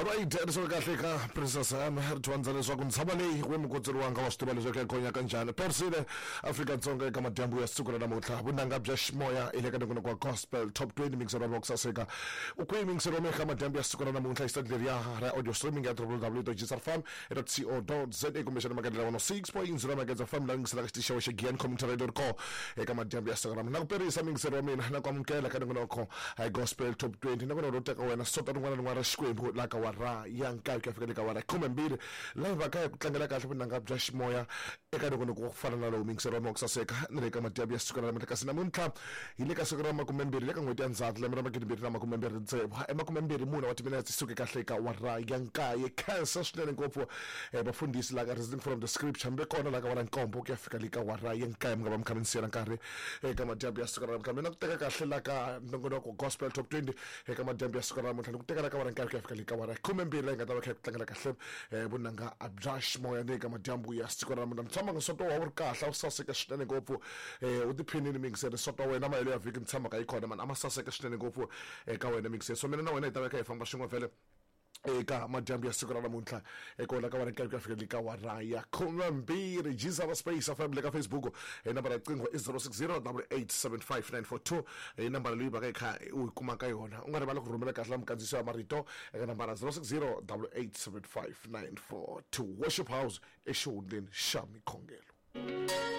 Right, ri kahle ka Princess M ri dyondza leswaku ntshava leyi we mukotseri wanga wa swi tiva leswaku ya gonya kanjhani. Persile Afrika-Dzonga eka madyambu ya siku ra namuntlha vunanga bya ximoya hi le ka nongonoko wa Gospel Top 20 mixero wa ku saseka u kwihi mixero wa eka madyambu ya siku ra namuntlha hi leriya ra audio streaming ya www.gsrfam.co.za kumbexana makendlela 106.0 Magedza FM la yingiselaka xitichi xa Giyani Community Radio ko eka madyambu ya siku ra namuntlha. Na ku perisa mixero wa mina na ku amukela ka nongonoko hi Gospel Top 20 nongonoko lowu teka wena sonto rin'wana na rin'wana ra Xikwembu la ka wara ya nkaye ku ya fika le ka wara ya 12 la hi va ka hi ku tlangela kahle vunanga bya ximoya eka nongonoko wa ku fana na lowu mixero wa mina wa ku saseka na le ka madyambu ya siku ra namuntlha. Kasi namuntlha hi le ka siku ra 20 le ka n'hweti ya Ndzhati lembe ra 2026 e 24 wa timinetse suke kahle ka wara ya nkaye. Khensa swinene ngopfu vafundhisi la ka Reasoning from the Scripture mi ve kona la ka wara nkombo ku ya fika le ka wara ya nkaye mi nga va mi kha mi ni siyela nkarhi eka madyambu ya siku ra namuntlha. Mina ku teka kahle la ka nongonoko Gospel Top 20 eka madyambu ya siku ra namuntlha ni ku teka la ka wara nkaye ku ya fika le ka wara ya 12 la hi nga ta va kha hi ku tlangela kahle vunanga bya ximoya ni eka madyambu ya siku ra namuntlha. Ni tshama nsoto wa wu ri kahle a wu saseka swinene ngopfu u tiphinini mingiseri nsoto wa wena mahelo ya vhiki ni tshamaka yi kona mani a ma saseka swinene ngopfu eka wena mingiseri. So mina na wena hi ta va kha hi famba swin'we vhele eka madyambu ya siku ra namuntlha eka ka wara nkaye ku ya fika le ka wara ya 12. Jizava Space FM le ka Facebook hi nambara ya riqingho i 060 8875942 hi nambara leyi vaka yi kha u yi kuma ka yona. U nga rivali ku rhumela kahle la minkandziyiso ya marito eka nambara 060 8875942. Worship House exihundleni xa mikhongelo.